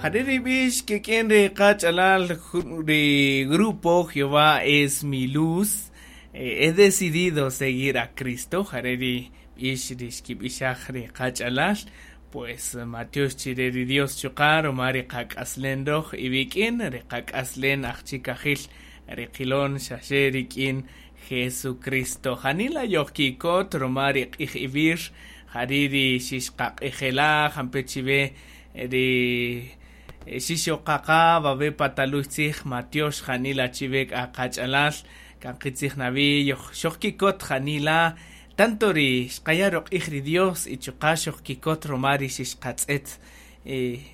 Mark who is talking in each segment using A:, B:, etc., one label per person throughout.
A: Jare' ri b'ix kik'in ri qach'alal ri grupo Jehová es mi luz. He decidido seguir a Cristo. Jare' ri b'ix ri xkib'ixaj ri qach'alal. Pues matyox chire ri Dios chuqa' ruma ri qak'aslen roj iwik'in, ri qak'aslen ajchikajil ri qilon xaxe rik'in Jesucristo. Janila yojkikot ruma ri q'ij iwir, jari' ri xixqaq'ijela' jampe' chiwe ri xixoqaqa wawe' pa taluy tzij matyox janila chiwe k'a qach'alal kan qitzij nawi yoj xojkikot janila tanto ri xqaya' ruq'ij ri Dios y chuqa' xojkikot ruma ri xixqatz'et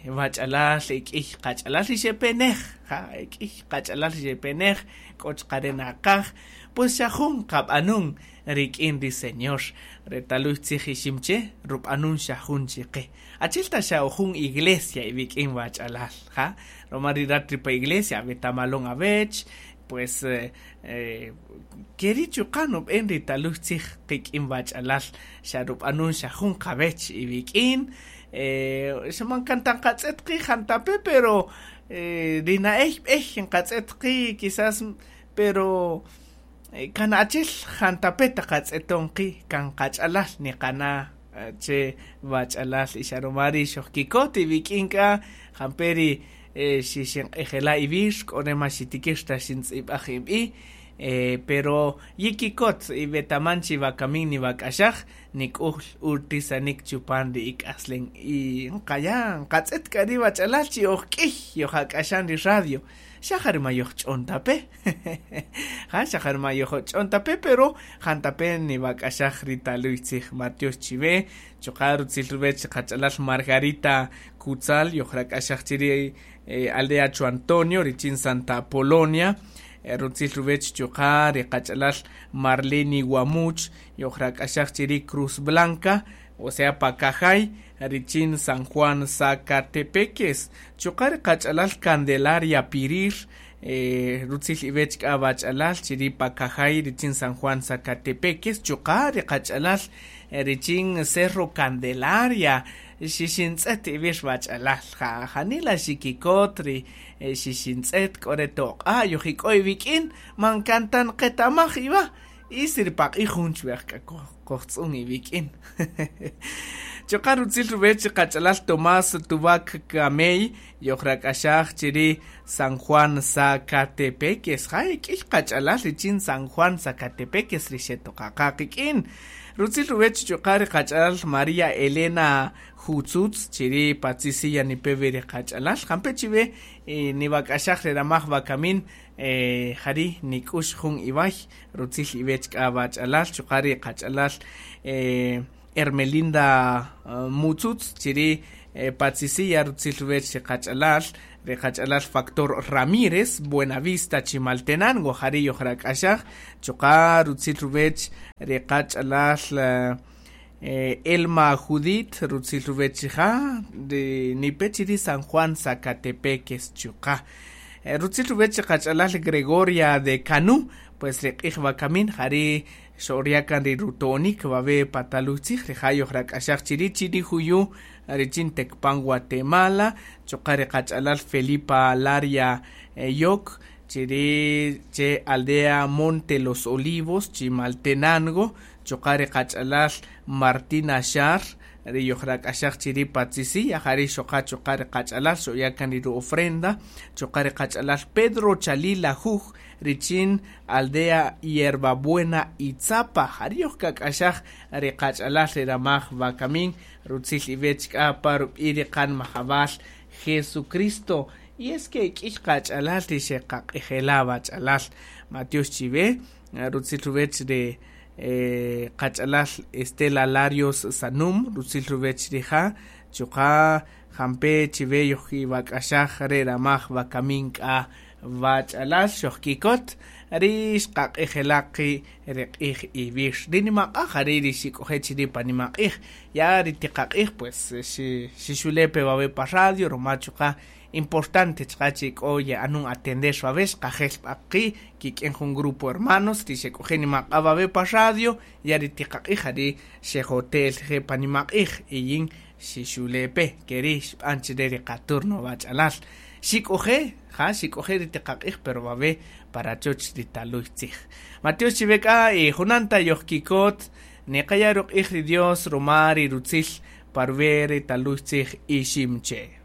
A: wach'alal ek'iy qach'alal ri xepe nej, ja ek'iy qach'alal ri xepe nej k'o chuqa' re naqaj pues xa jun qab'anun rik'in ri Señor re taluy tzij Iximche rub'anun xa jun chiqe achi'el ta xa jun iglesia iwik'in wach'alal ja ruma ri rat ri pa iglesia awetamalon awech pues keri' chuqa' nub'en ri taluy tzij qik'in wach'alal xa rub'anun xa jun qawech iwik'in xa man kan ta nqatz'et qi' jantape' pero ri na'ey b'ey nqatz'et qi' quizás pero kan achi'el jantape' taqatz'eton qi' kan qach'alal niqana' che wach'alal y xa ruma ri' xojkikot iwik'in k'a jampe' ri xixinq'ijela' iwir k'o re man xitikir ta xintz'ib'aj ib'i' pero yikikot iwetaman chi wakamin niwak'axaj nik'ul urtisanik chupan ri ik'aslen y nqaya' nqatz'et k'a ri wach'alal chi oj k'iy yojak'axan ri radio xa jare' ma yojch'on ta pe ja xa jare' ma yojch'on ta pe pero jantape' niwak'axaj ri taluy tzij matyox chiwe chuqa' rutzil ruwech qach'alal Margarita Kutzal yojrak'axaj chiri' aldea Cho Antonio richin Santa Apolonia rutzil ruwech chuqa' ri qach'alal Marlene Guamuch yojrak'axaj chiri' Cruz Blanca o sea Pacajay richin San Juan Zacatepeques chuqa' ri qach'alal Candelaria Pirir rutzil iwech k'a wach'alal chiri' Pacajay richin San Juan Zacatepeques chuqa' ri qach'alal richin Cerro Candelaria xixintz'et iwir wach'alal ja janila xikikot ri xixintz'et k'o re toq'a' yojik'o iwik'in man kan ta nqetamaj iwa y si ri paq'ij jun chwej k'a kojtz'un iwik'in chuqa' rutzil ruwech qach'alal Tomás Tubac Camey yojrak'axaj chiri' San Juan Zacatepeques ja ek'iy qach'alal richin San Juan Zacatepeques ri xetoqaqa qik'in rutzil ruwech chuqa' ri qach'alal María Elena Jutzutz chiri' Patzisiya nipewe ri qach'alal jampe' chiwe niwak'axaj ri ramaj wakamin jari' nik'ux jun iway rutzil iwech k'a wach'alal chuqa' ri qach'alal Hermelinda Mutzutz chiri' Patzisiya rutzil ruwech ri qach'alal Factor Ramírez Buenavista Chimaltenango jari' yojrak'axaj chuqa' rutzil ruwech ri qach'alal Elma Judith rutzil ruwech rija' ri nipe chiri' San Juan Zacatepeques chuqa' rutzil ruwech ri qach'alal Gregoria de Canú pues ri q'ij wakamin jari' xo'orya kan ri ruto'onik wawe' pa taluy tzij rija' yojrak'axaj chiri' chiri' juyu richin Tecpan Guatemala chuqa' ri qach'alal Felipa Laria Yok chiri' che aldea Monte Los Olivos Chimaltenango chuqa' ri qach'alal Martina Xar ri yojrak'axaj chiri' Patzisiya jari' xoqa chuqa' ri qach'alal xo'ya kan ri ru-ofrenda chuqa' ri qach'alal Pedro Chalila Juj richin aldea Hierbabuena Itzapa jari' yojkak'axaj ri qach'alal ri ramaj wakamin rutzil iwech k'a pa rub'i' ri qanmajab'al Jesucristo y es que k'iy qach'alal ri xeqaq'ijela' wach'alal matyox chiwe rutzil ruwech ri qach'alal Estela Larios Sanum rutzil ruwech rija' chuqa' jampe' chiwe yojkiwak'axaj re ramaj wakamin k'a wach'alal xojkikot ri xqaq'ijela' qi' ri q'ij iwir ri nimaq'a' jari' ri xik'oje' chiri' pa nimaq'ij ya ri tiqaq'ij pues xixule' pe wawe' pa radio ruma chuqa' importante chuqa' chi k'o ye'anun atender wawe' xqajel b'a qi' kik'in jun grupo hermanos ri xek'oje' nimaq'a' wawe' pa radio ya ri tiqaq'ij jari' xejotel je' pa nimaq'ij y yin Xixule' pe, keri' xb'an chire ri qaturno wach'alal. Xik'oje', ja xik'oje' ri tiqaq'ij pero wawe' pa rachoch ri taluy tzij. Matyox chiwe k'a y junan ta yojkikot, niqaya' ruq'ij ri Dios ruma ri rutzil pa ruwi' ri taluy tzij Iximche'.